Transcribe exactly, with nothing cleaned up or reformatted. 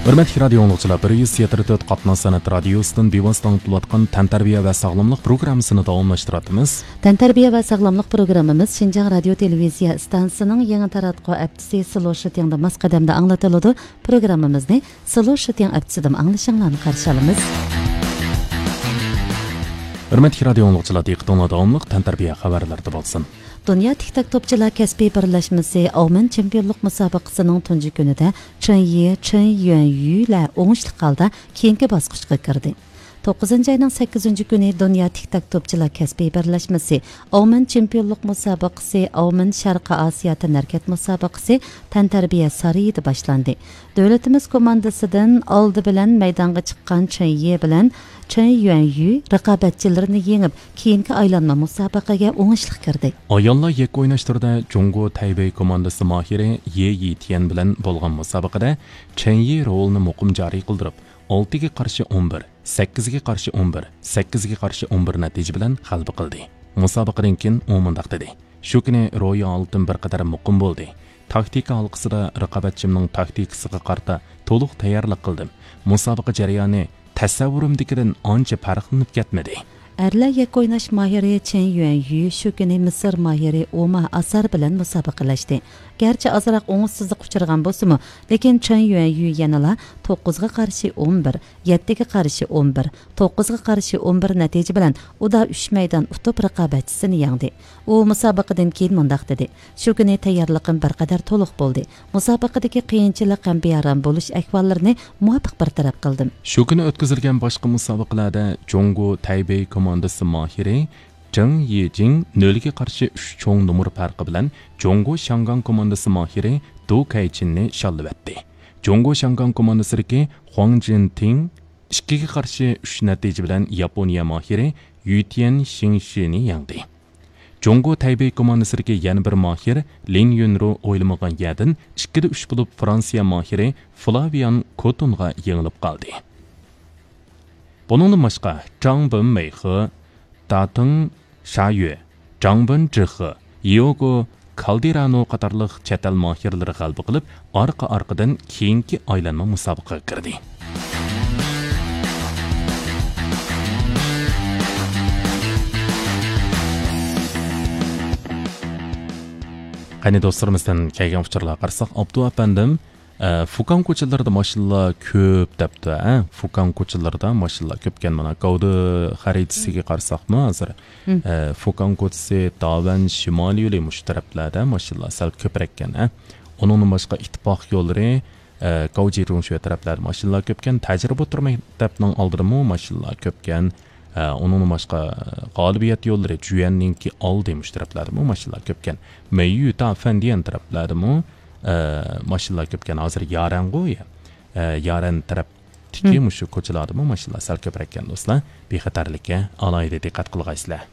ھۆرمەتلىك رادىئو ئاڭلىغۇچىلار، بىر يۈز يەتتە تۆت قاتناش سەنئەت رادىيوسىدىن بىۋاسىتە ئاڭلىتىلىۋاتقان تەنتەربىيە ۋە ساغلاملىق پروگراممىسىنى داۋاملاشتۇراتىمىز. تەنتەربىيە ۋە ساغلاملىق پروگراممىمىز شىنجاڭ رادىيو تېلېۋىزىيە ئىستانسىسىنىڭ يېڭى تاراتقۇ ئەپچىسى سلو شىتىڭدا ماس قەدەمدە ئاڭلىتىلىدۇ. پروگراممىمىزنى سلو شىتىڭ ئەپچىسىدىن ئاڭلىشىڭلارنى قارشى ئالىمىز. ھۆرمەتلىك رادىئو ئاڭلىغۇچىلار، دىققىتىڭلار داۋاملىق تەنتەربىيە خەۋەرلىرىدە بولسۇن. دۇنيا تىك تاك توپچىلار كەسپىي بىرلەشمىسى ئاۋمېن چېمپىيونلۇق مۇسابىقىسىنىڭ تۇنجى كۈنىدە چېن يى، چېن يۈەن يۈلەر ئوڭۇشلۇق ھالدا كېيىنكى باسقۇچقا كىردى. توققۇزىنچى ئاينىڭ سەككىزىنچى كۈنى دۇنيا تىك تاك توپچىلار كەسپىي بىرلەشمىسى ئاۋمېن چېمپىيونلۇق مۇسابىقىسى ئاۋمېن شەرقىي ئاسىيا تەنھەرىكەت مۇسابىقىسى تەنتەربىيە سارىيىدا باشلاندى. دۆلىتىمىز كوماندىسىدىن ئالدى بىلەن مەيدانغا چىققان چېن يى بىلەن چېن يۈەن يۈ رىقابەتچىلىرىنى يېڭىپ، كېيىنكى ئايلانما مۇسابىقىگە ئوڭۇشلۇق كىردى. ئاياللار يەككە ئويناش تۈرىدە جۇڭگو تەيبېي كوماندىسى ماھىرى يې يىتيەن بىلەن بولغان مۇسابىقىدە چېن يى رولىنى مۇقىم جارى قىلدۇرۇپ، ئالتىگە قارشى ئون بىر، سەككىزگە قارشى ئون بىر، سەككىزگە قارشى ئون بىر نەتىجە بىلەن غەلىبە قىلدى. مۇسابىقىدىن كېيىن ئۇ مۇنداق دېدى: «شۇ كۈنى رويا ھالىتىم بىر قەدەر مۇقىم بولدى. تاكتىكا ھالقىسىدا رىقابەتچىمنىڭ تاكتىكىسىغا قارىتا تولۇق تەييارلىق قىلدىم. مۇسابىقە جەريانى تەسەۋۋۇرۇمدىكىدىن ئانچە پەرقلىنىپ كەتمىدى.» ئەرلەر يەككە ئويناش ماھىرى چېن يۈەن يۈ شۇ كۈنى مىسىر ماھىرى ئوما ئاسار بىلەن مۇسابىقىلەشتى. گەرچە ئازراق ئوڭۇشسىزلىققا ئۇچرىغان بولسىمۇ، لېكىن چېن يۈەن يۈ يەنىلا توققۇزغا قارشى ئون بىر، يەتتىگە قارشى ئون بىر، توققۇزغا قارشى ئون بىر نەتىجە بىلەن ئۇدا ئۈچ مەيدان ئۇتۇپ، رىقابەتچىسىنى يەڭدى. ئۇ مۇسابىقىدىن كېيىن مۇنداق دېدى: «شۇ كۈنى تەييارلىقىم بىر قەدەر تولۇق بولدى. مۇسابىقىدىكى قىيىنچىلىق ھەم بىئارام بولۇش ئەھۋاللىرىنى مۇۋاپىق بىر تەرەپ قىلدىم.» شۇ كۈنى ئۆتكۈزۈلگەن باشقا مۇسابىقىلەردە جۇڭگو تەيبېي كوماندىسى ماھىرى جېڭ يىجىڭ نۆلگە قارشى ئۈچ چوڭ نومۇر پەرقى بىلەن جۇڭگو شياڭگاڭ كوماندىسى ماھىرى دۇ كەيچىننى شاللىۋەتتى. جۇڭگو شياڭگاڭ كوماندىسىدىكى خۇاڭ جىنتىڭ ئىككىگە قارشى ئۈچ نەتىجە بىلەن ياپونىيە ماھىرى يۈتيەن شىڭشىنى يەڭدى. جۇڭگو تەيبېي كوماندىسىدىكى يەنە بىر ماھىر لىن يۈنرۇ ئويلىمىغان يەردىن ئىككىدە ئۈچ بولۇپ، فرانسىيە ماھىرى فلاۋىيان كوتونغا يېڭىلىپ قالدى. بۇنىڭدىن باشقا، جاڭ بېن مېيخې، داتېڭ شايۈ، جاڭ بېن جىخې، يىئوگو كالدېرانو قاتارلىق چەت ئەل ماھىرلىرى غەلىبە قىلىپ، ئارقا-ئارقىدىن كېيىنكى ئايلانما مۇسابىقىگە كىردى. قېنى دوستلىرىمىزدىن كەلگەن ئۇچۇرلارغا قارىساق، ئابدۇ ئەپەندىم، ئە، فۇكاڭ كوچىلىرىدا ماشىنىلار كۆپ دەپتۇ، ھە؟ فۇكاڭ كوچىلىرىدا ماشىنىلار كۆپكەن. مانا، گاۋدې خەرىتىسىگە قارىساقمۇ ھازىر، مم. ئە، فۇكاڭ كوچىسى، داۋەن شىمالىي يولى مۇشۇ تەرەپلەردە ماشىنىلار سەل كۆپرەككەن، ھە؟ ئۇنىڭدىن باشقا ئىتتىپاق يوللىرى، ئە، گاۋجى رۇڭشۈە تەرەپلەردە ماشىنىلار كۆپكەن. تەجرىبە ئوتتۇرا مەكتەپنىڭ ئالدىدىمۇ ماشىنىلار كۆپكەن. ئە، ئۇنىڭدىن باشقا، غالىبىيەت يوللىرى جۈەننىڭكى ئالدى مۇشۇ تەرەپلەردىمۇ ماشىنىلار كۆپكەن. مەييۈ تا فەندىيەن تەرەپلەردىمۇ، ئە، ماشىنىلار كۆپكەن. ھازىر يارەنغۇ، ئە، يارەن تەرەپتىكى مم. مۇشۇ كوچىلاردىمۇ ماشىنىلار سەل كۆپرەككەن، دوستلار. بىخەتەرلىككە ئالاھىدە دىققەت قىلغايسىلەر.